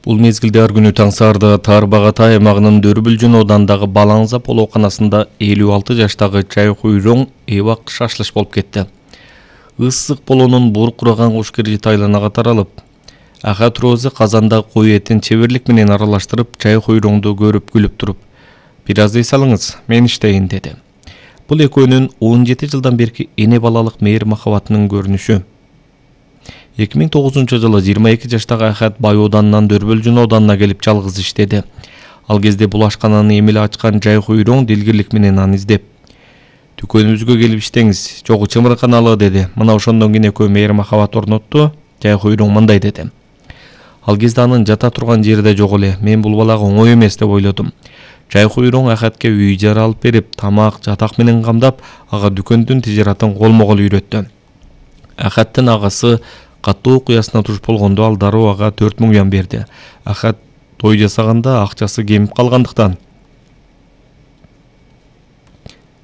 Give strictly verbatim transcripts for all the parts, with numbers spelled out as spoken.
Бул мезгилде ар күнү таң саарда Таарбагата аймагынын Дөрбүлжүн оодандагы Балаңзап оолуканасында элүү алты жаштагы Чайкуйроң эбак шашлыш болуп кетти. Ыссык болоонун буркураган куш киржит айланага таралып, Ахат Розы казанда кой этин чеберлик менен аралаштырып, Чайкуйроңду көрүп күлүп туруп, "Бир аз ей салыңыз, мен иштейин" деди. Бул экөөнүн он жети жылдан берки эне балалык мейир махабатынын көрүнүшү. эки миң тогузунчу жылы жыйырма эки жаштагы Ахат Бай оданынан Дөрбүлжүн оданына келип жалгыз иштеди. Ал кезде бул ашкананы эмеле ачкан Чайкуйроң дилгирлик менен аны издеп, "Дүкөнүбүзгө келип иштеңиз, жогу чымырканалы" деди. Мына ошондон кийин экөө мейир махабат орнотту. Чайкуйроң мындай деди: "Ал кезде анын жата турган жери да жок эле. Мен бул балага оңой эмес деп ойлодум. Чайкуйроң Ахатке үй жара алып берип, тамак, жатак менен камдап, ага дүкөндүн тижаратын колмо-кол үйрөттү. Ахаттын агасы катуу куясына туш болгондо ал дароо ага төрт миң юан берди. Ахат той жасаганда акчасы кемип калгандыктан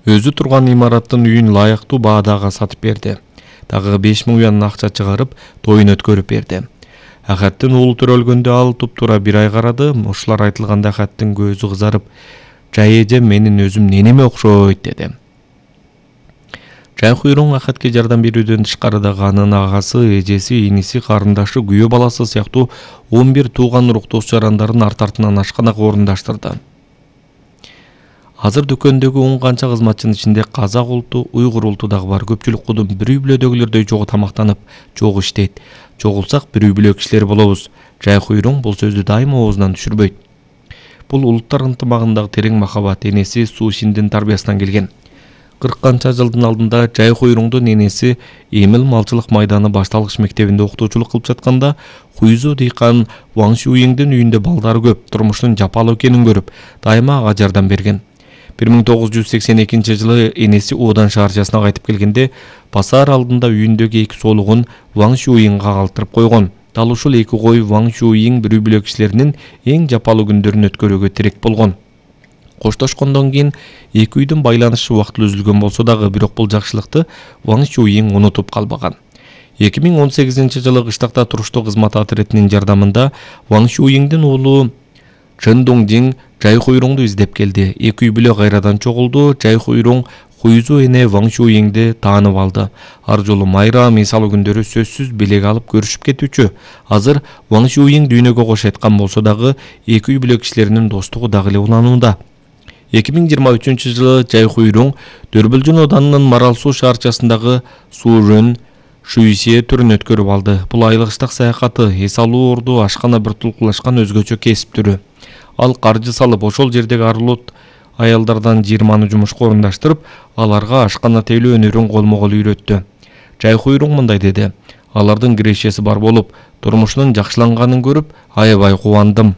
өзү турган имараттын үйүн лайыктуу баада ага сатып берди. Дагы беш миң юан акча чыгарып, тоюн өткөрүп берди. Ахаттын уулу төрөлгөндө ал туп-тура бир ай карады. Ушулар айтылганда Ахаттын көзү кызарып, "Жай эжем менин өзүм ненеме окшойт" деди. Чайкуйроң Ахатке жардам берүүдөн тышкары дагы анын агасы, эжеси, иниси, карындашы, күйөө баласы сыяктуу он бир тууган уруктош жарандарын арт артынан ашканага орундаштырды. Азыр дүкөндөгү он канча кызматчынын ичинде казак улуту, уйгур улуту дагы бар. Көпчүлүк кудум бир үй бүлөдөгүлөрдөй жогу тамактанып, жогу иштейт. Жогулсак бир үй бүлө кишилери болобуз. Чайкуйроң бул сөздү дайыма оозунан түшүрбөйт. Бул улуттар ынтымагындагы терең махабат энеси Сушиндин тарбиясынан келген. кырк канча жылдын алдында Чайкуйроңдун энеси Эмил малчылык майданы башталгыч мектебинде окутуучулук кылып жатканда Хуйзу дыйкан Ваң Шуйиңдин үйүндө балдары көп, турмуштун жапалуу экенин көрүп, дайыма ага жардам берген. бир миң тогуз жүз сексен экинчи жылы энеси Одан шаарчасына кайтып келгенде, базар алдында үйүндөгү эки соолугун Ваң Шуйиңга калтырып койгон. Дал ушул эки кой Ваң Шуйиң бир үй бүлө кишилеринин эң жапалуу күндөрүн өткөрүүгө тирек болгон. Коштошкондон кийин эки үйдүн байланышы убактылуу үзүлгөн болсо дагы, бирок бул жакшылыкты Ваң Шуйиң унутуп калбаган. эки миң он сегизинчи жылы кыштакта туруштуу кызмат атретинин жардамында Ваң Шуйиңдин уулу Чын Доңжиң Чайкуйроңду издеп келди. Эки үй бүлө кайрадан чогулду. Чайкуйроң Хуйзу эне Ваң Шуйиңди таанып алды. Ар жолу майра мисалуу күндөрү сөзсүз белек алып көрүшүп кетүүчү. Азыр Ваң Шуйиң дүйнөгө кош айткан болсо дагы, эки үй бүлө кишилеринин достугу дагы эле уланууда. эки миң жыйырма үчүнчү жылы Чайкуйроң Дөрбүлжүн оданынын Марал суу шаарчасындагы Сужөн Шуйсе түрүн өткөрүп алды. Бул айлык ыштак саякаты, эс алуу орду, ашкана бир тулкулашкан өзгөчө кесип түрү. Ал каржы салып, ошол жердеги арулут аялдардан жыйырманы жумушка орундаштырып, аларга ашкана тейлөө өнөрүн колмо-кол үйрөттү. Чайкуйроң мындай деди: "Алардын кирешеси бар болуп, турмушунун жакшыланганын көрүп, аябай кубандым.